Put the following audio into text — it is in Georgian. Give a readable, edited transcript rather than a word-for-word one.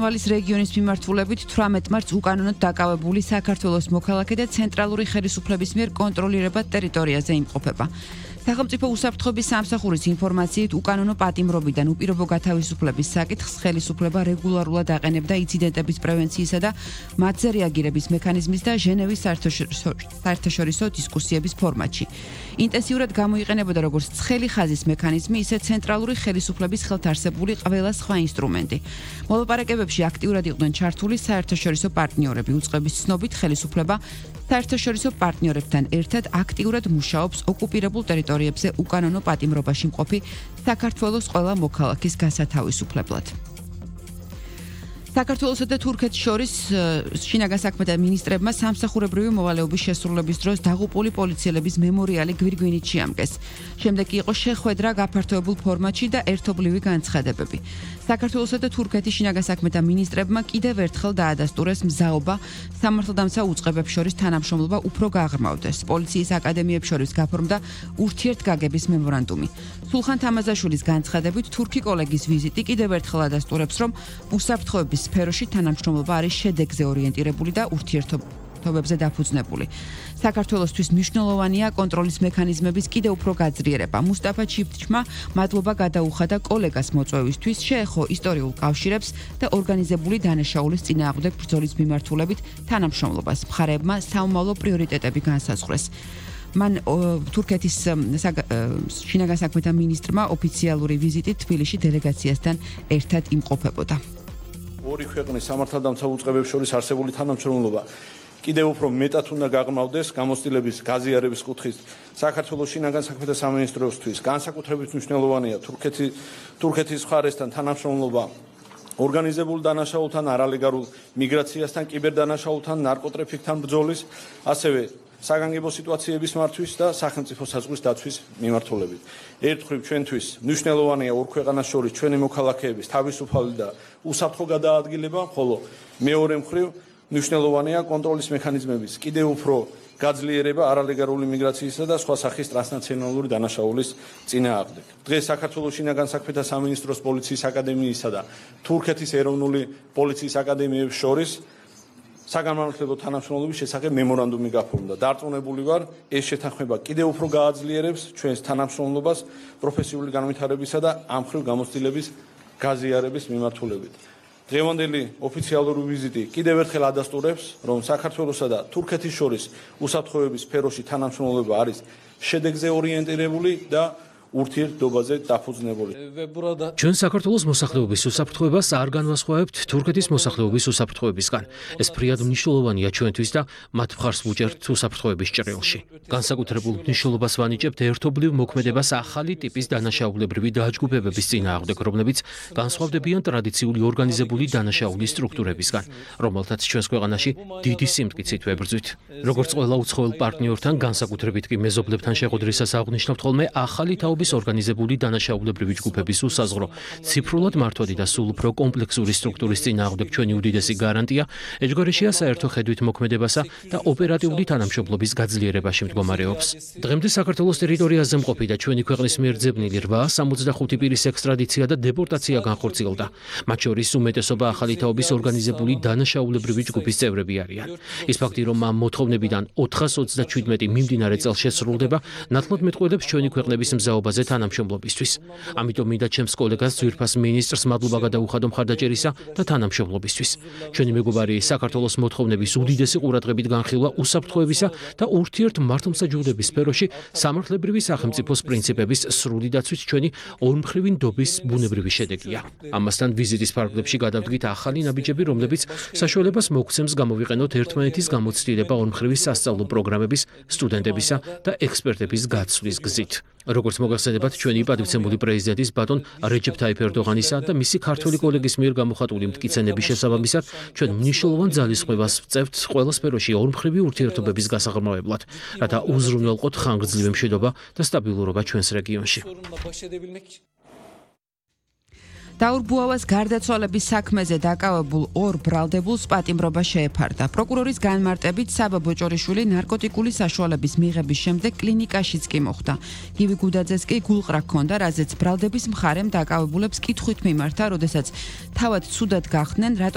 ვალის რეგიონის მიმართულებით 18 მარტს უკანონოდ დაკავებული საქართველოს მოქალაქე და ცენტრალური ხელისუფლების მიერ კონტროლირებად ტერიტორიაზე იმყოფება. სახელმწიფო უსაფრთხოების სამსახურის ინფორმაციით უკანონო პატიმრობიდან უპირობო გათავისუფლების საკითხს ხელისუფლება რეგულარულად აყენებდა ინციდენტების პრევენციისა და მათზე რეაგირების მექანიზმის და ჟენევის საერთაშორისო დისკუსიების ფორმატში. ინტენსიურად გამოიყენებოდა როგორც ცხელი ხაზის მექანიზმი, ისე ცენტრალური ხელისუფლების ხელთ არსებული ყველა სხვა ინსტრუმენტი. მოლაპარაკებებში აქტიურად იყვნენ ჩართული საერთაშორისო პარტნიორები. უწყების ცნობით ხელისუფლება საერთაშორისო პარტნიორებთან ერთად აქტიურად მუშაობს ოკუპირებულ ტერიტორიებზე უკანონო პატიმრობაში მყოფი საქართველოს ყველა მოქალაქის გასათავისუფლებლად. საქართველოსა და თურქეთს შორის შინაგან საქმეთა მინისტრებმა სამსახურებრივი მოვალეობის შესრულების დროს დაღუპული პოლიციელების მემორიალი გვირგვინით შეამკეს. შემდეგ კი იყო შეხვედრა გაფართოებულ ფორმატში და ერთობლივი განცხადებები. საქართველოსა და თურქეთის შინაგან საქმეთა მინისტრებმა კიდევ ერთხელ დაადასტურეს მზაობა სამართალდამცავ უწყებებს შორის თანამშრომლობა უფრო გაღრმავდეს. პოლიციის აკადემიებს შორის გაფორმდა ურთიერთგაგების მემორანდუმი. სულხან თამაზაშვილის განცხადებით, თურქი კოლეგის ვიზიტი კიდევ ერთხელ ადასტურებს, რომ უსაფრთხოების სფეროში თანამშრომლობა არის შედეგზე ორიენტირებული და ურთიერთობებზე დაფუძნებული. საქართველოსთვის მნიშვნელოვანია კონტროლის მექანიზმების კიდევ უფრო გაძლიერება. მუსტაფა ჩიფტჩმა მადლობა გადაუხადა კოლეგას მოწვევისთვის, შეეხო ისტორიულ კავშირებს და ორგანიზებული დანაშაულის წინააღმდეგ ბრძოლის მიმართულებით თანამშრომლობას. მხარეებმა საომავლო პრიორიტეტები განსაზღვრეს. მან თურქეთის შინაგან საქმეთა მინისტრმა ოფიციალური ვიზიტით თბილისში დელეგაციასთან ერთად იმყოფებოდა. ორი ქვეყნის სამართალდამცავ უწყებებს შორის არსებული თანამშრომლობა კიდევ უფრო მეტად უნდა გაღრმავდეს გამოცდილების გაზიარების კუთხით. საქართველოს შინაგან საქმეთა სამინისტროსთვის განსაკუთრებით მნიშვნელოვანია თურქეთის მხარესთან თანამშრომლობა ორგანიზებულ დანაშაულთან, არალეგალურ მიგრაციასთან, კიბერდანაშაულთან, ნარკოტრაფიკთან ბრძოლის, ასევე საგანგებო სიტუაციების მართვის და სახელმწიფო საზღვრის დაცვის მიმართულებით. ერთ მხრივ ჩვენთვის მნიშვნელოვანია ორ ქვეყანას შორის ჩვენი მოქალაქეების თავისუფალი და უსაფრთხო გადაადგილება, ხოლო მეორე მხრივ მნიშვნელოვანია კონტროლის მექანიზმების კიდევ უფრო გაძლიერება არალეგალური მიგრაციისა და სხვა სახის ტრანსნაციონალური დანაშაულის წინააღმდეგ. დღეს საქართველოს შინაგან საქმეთა სამინისტროს პოლიციის აკადემიისა და თურქეთის ეროვნული პოლიციის აკადემიების შორის საგანმანათლებლო თანამშრომლობის შესახებ მემორანდუმი გაფორმდა. დარწმუნებული ვარ, ეს შეთანხმება კიდევ უფრო გააძლიერებს ჩვენს თანამშრომლობას პროფესიული განვითარებისა და ამ მხრივ გამოცდილების გაზიარების მიმართულებით. დღევანდელი ოფიციალური ვიზიტი კიდევ ერთხელ ადასტურებს, რომ საქართველოსა და თურქეთის შორის უსაფრთხოების სფეროში თანამშრომლობა არის შედეგზე ორიენტირებული და ურთიერთობაზე დაფუძნებული. ჩვენ საქართველოს მოსახლეობის უსაფრთხოებას არ განვასხვავებთ თურქეთის მოსახლეობის უსაფრთხოებისგან. ეს ფრიად მნიშვნელოვანია ჩვენთვის და მათ მხარს ვუჭერთ უსაფრთხოების ჭრილში. განსაკუთრებულ მნიშვნელობას ვანიჭებთ ერთობლივ მოქმედებას ახალი ტიპის დანაშაულებრივი დაჯგუფებების წინააღმდეგ, რომლებიც განსხვავდებიან ტრადიციული ორგანიზებული დანაშაულის სტრუქტურებისგან, რომელთაც ჩვენს ქვეყანაში დიდი სიმტკიცით ვებრძვით. როგორც ყველა უცხოელ პარტნიორთან, განსაკუთრებით კი მეზობლებთან შეხვედრისას აღვნიშნავთ ხოლმე ახალი ორგანიზებული დანაშაულებრივი ჯგუფების უსაზღვრო, ციფრულად მართვადი და სულ უფრო კომპლექსური სტრუქტურის წინააღმდეგ ჩვენი უდიდესი გარანტია ეჯგარეშია საერთო ხედვით მოქმედებასა და ოპერატიული თანამშრომლობის გაძლიერებაში მდგომარეობს. დღემდე საქართველოს ტერიტორიაზე მყოფი და ჩვენი ქვეყნის მიერ ძებნილი 865 პირის ექსტრადიცია და დეპორტაცია განხორციელდა. მათ შორის უმეტესობა ახალი თაობის ორგანიზებული დანაშაულებრივი ჯგუფის წევრები არიან. ის ფაქტი, რომ ამ მოთხოვნებიდან 427 მიმდინარე წელს შესრულდება, ნათლად მეტყველებს ჩვენი ქვეყნების მზაობაზე თანამშრომლობისთვის. ამიტომ მინდა ჩემს კოლეგას ძვირფას მინისტრს მადლობა გადაუხადო მხარდაჭერისა და თანამშრომლობისთვის. ჩვენი მეგობარი საქართველოს მოთხოვნების უდიდესი ყურადღებით განხილვა უსაფრთხოებისა და ურთიერთ მართლმსაჯულების სფეროში სამართლებრივი სახელმწიფოს პრინციპების სრული დაცვით ჩვენი ორმხრივი ნდობის ბუნებრივი შედეგია. ამასთან ვიზიტის ფარგლებში გადავდგით ახალი ნაბიჯები, რომლებიც საშუალებას მოგცემს გამოვიყენოთ ერთმანეთის გამოცდილება ორმხრივი სასწავლო პროგრამების, სტუდენტებისა და ექსპერტების გაცვლის გზით. როგორც მოგახსენებათ, ჩვენი პატივცემული პრეზიდენტის ბატონ რეჯეფ თაიფ ერდოღანისა და მისი ქართველი კოლეგის მიერ გამოხატული მტკიცენების შესაბამისად, ჩვენ მნიშვნელოვან ძალისხმევას ვწევთ ყველა სფეროში ორმხრივი ურთიერთობების გასაღრმავებლად, რათა უზრუნველყოთ ხანგრძლივი მშვიდობა და სტაბილურობა ჩვენს რეგიონში. დაურბუავას გარდაცვალების საქმეზე დაკავებულ 2 ბრალდებულს პატიმრობა შეეფარდა. პროკურორის განმარტებით საბა ბოჭორიშვილი ნარკოტიკული საშუალების მიღების შემდეგ კლინიკაშიც კი მოხვდა. გივი გუდაძეს კი გულყრა ჰქონდა, რაზეც ბრალდების მხარემ დაკავებულებს კითხვით მიმართა, როდესაც თავად ცუდად გახდნენ,